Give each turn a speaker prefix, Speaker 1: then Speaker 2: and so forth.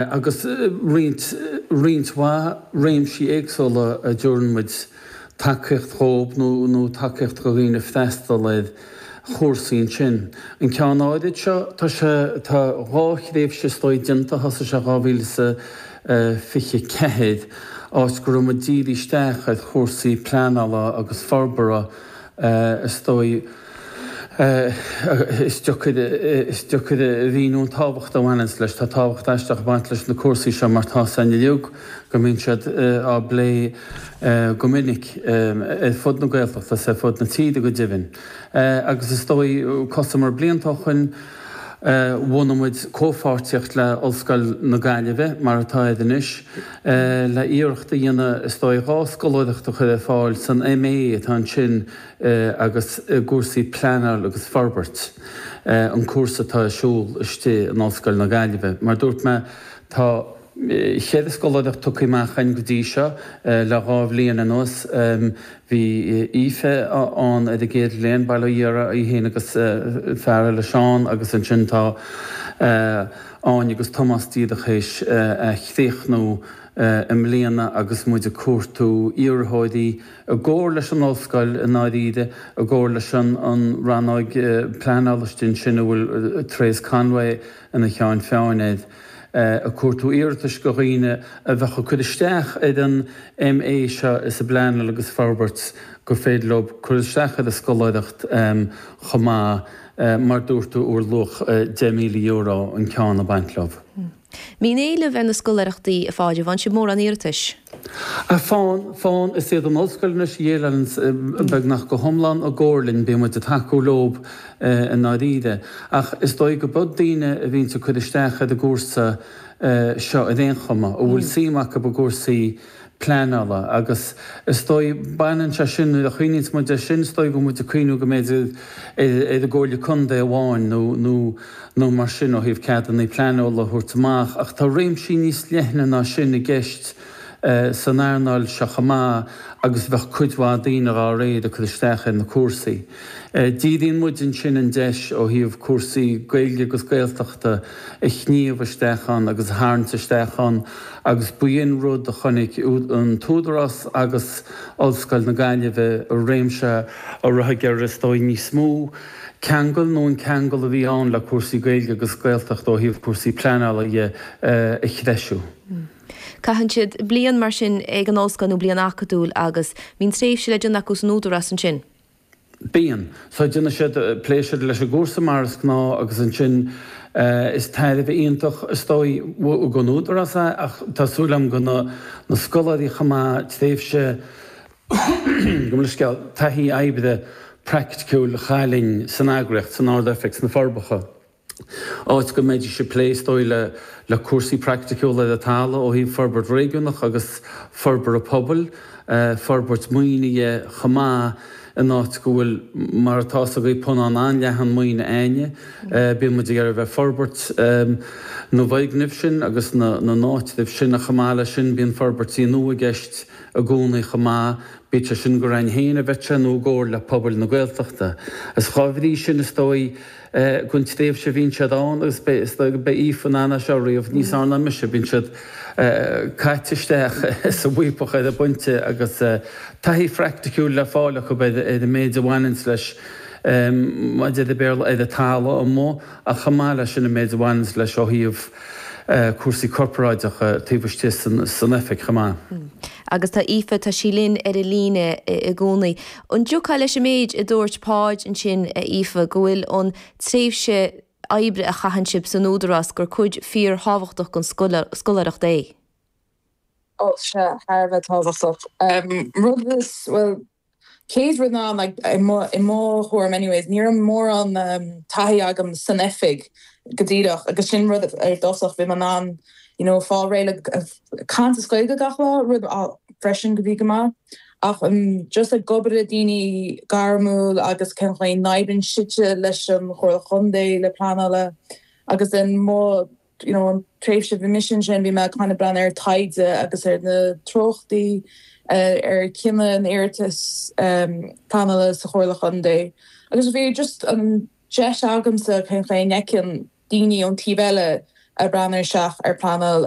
Speaker 1: Agus roinnt, roinnt mhaith réimsí éagsúla a dtabharann muid tacaíocht dhóibh nó, nó tacaíocht do dhaoine freastal ar chúrsaí ansin. An ceann áirid seo, tá sé, tá 2 thréimhse is dóigh déanta, thosaigh sé 2024, áit go raibh muid dírithe isteach ar chúrsaí pleanála agus forbartha is dóigh, Is deacair, is deacair a mhíniú an tábhacht a bhaineanns leis. Tá tábhacht aisteach ag baint leis na cúrsaí seo mar tá a fhios againn uilig go mbíonn siad á bplé go minic ar fud na Gaeltachta is ar fud na tíre go deimhin. Agus is dóigh, cosamar blianta ó shoin, bhunaigh muid comhpháirtíocht le Ollscoil na Gaillimhe, mar atá air anois, le iarracht a dhéanamh is dóigh 2 scoláireacht a chur ar fáil san MA atá ansin agus i gcúrsaí pleanáil agus forbairt, an cúrsa atá ar siúl istigh in Ollscoil na Gaillimhe. Mar a dúirt mé, tá cheithre scoláireacht tugtha amach againn go dtí seo le 2 bhliain anuas. Bhí Aoife ann ar an gcéad bhliain, bail ó Dhia uirthi, í féin agus fear eile, Seán, agus ansin tá Áine agus Tomás díreach théis a chríochnú i mbliana agus muid ag cuartú iarrthóirí i gcomhar leis an ollscoil i ndáiríre, i gcomhar leis an rannóg pleanála istigh ansin a bhfuil Therese Conway ina cheann feadhain air, ag cuartú iarratais go dhaoine a bheadh ag cur isteach ar an MA seo sa bPleanáil agus Forbairt gur féidir leo cur isteach ar an scoláireacht chomh maith, mar dúirt tú, ar luach €10,000 an ceann ag baint leo.
Speaker 2: Mbíonn éileamh ar na scoláireachtaí, a Pháid, an bhfaigheann sibh mórán iarratais?
Speaker 1: Faigheann, faigheann. Is iad an ollscoil anois a dhéileálann beagnach go hiomlán i gcomhar linn, bíonn muid ag tacú leo i ndáiríre. Ach is dóigh go b'iod daoine a bhíonns ag cur isteach ar an gcúrsa seo ar aon chuma, a bhfuil suim acu i gcúrsaí pleanála agus is dóigh, baineann sé sin, nuair a chuimhníonns muid air sin, is dóigh go bhfuil muid ag cuimhniú go mb'fhéidir ar an gComhairle Contae amháin nó, nó, nó mar sin ó thaobh ceadanna pleanála a thabhairt amach ach tá réimsí níos leithne ná sin i gceist san earnáil seo chomh maith agus bheadh cuid mhaith daoine dhá réir ag cur isteach ar na cúrsaí. Díríonn muid ansin an deis ó thaobh cúrsaí Gaeilge agus Gaeltachta a shníomh isteach ann agus a tharraingt isteach ann agus b'in rud a chonaic an tÚdarás agus Ollscoil na Gaillimhe i réimse a raibh ag iarraidh is dóigh níos mó ceangal nó an ceangal a bhí ann le cúrsaí Gaeilge agus Gaeltachta ó thaobh cúrsaí pleanála dhe a threisiú.
Speaker 2: Caitheann siad bliain mar sin ag an ollscoil nó bliain acadúil agus bíonn tréimhse le déanamh acu san Údarás ansin.
Speaker 1: Bíonn. So déanann siad pléisiúr leis an gcúrsa mar is gnáth agus ansin is tairbhe iontach is dóigh don Údarás é ach tá súil agam do na scoláirí chomh maith tréimhse gabh mo leithscéal, taithí oibre praiticiúil a fháil linn san eagraíocht, san Ard-Oifig, sna Forbacha. Áit go mbeidís ag plé, is dóigh, le cúrsaí praiticiúla ar an talamh ó thaobh forbairt réigiúnach agus forbartha pobail, forbairt maoine dhe chomh maith, in áit go bhfuil, mar atá fhios agaibh, punann an-leathan maoine a'inne. Bíonn muid ag iarraidh a bheith ag forbairt na bhfoirgneamh sin agus na n-áitreabh sin ach chomh maith leis sin bíonn forbairtí nua i gceist i gcónaí chomh maith, bíodh sé sin gur a'inn féin a bheadh sé nó i gcomhar le pobail na Gaeltachta. Is dhá bhrí sin is dóigh don tréimhse a bhíonn siad ann agus beidh, is dóigh, beidh Aoife in ann é seo a ríomh níos fearr ná mise, bíonn siad caite isteach sa bhfaopach ar an bpointe agus taithí phraiticiúil le fáil acu ar an méid a bhaineanns leis, mar a deir an Béarla, ar an talamh amuigh ach chomh maith leis sin an méid a bhaineanns leis ó thaobh cúrsaí corparáideacha taobh istigh san oifig chomh maith.
Speaker 2: Agus tá Aoife, tá sí linn ar an líne i gcónaí. An dtiocfá leis an méid a dúirt Páid ansin, a Aoife, go bhfuil an tréimhse oibre a chaitheann sibh san Údarás, gur cuid fíorthábhachtach den scoláireacht é?
Speaker 3: Ó, sea, thar a bheith tábhachtach. Rud is, bhuel, chéad rud ná, like, i mo, i mo thuairim anyways, ní raibh mórán taithí agam san oifig go díreach agus sin rud ar dtosach, bhí mé in ann, you know, fáil réidh le caint as Gaeilge gach lá, rud freisin go bhí go maith. Ach just ag obair le daoine gairmiúil agus cén chaoi a n-oibríonn siadsan leis an Chomhairle Chontae le pleanála agus then mo you know an tréimhse bhí mise ansin bhí mé kind of breathnú ar taighde agus ar na treochtaí ar chinneadh na n-iarratas pleanála sa Chomhairle Chontae agus bhí just an deis agamsa cén chaoi a bhfeiceann daoine ón taobh eile. ag breathnú isteach ar pleanáil.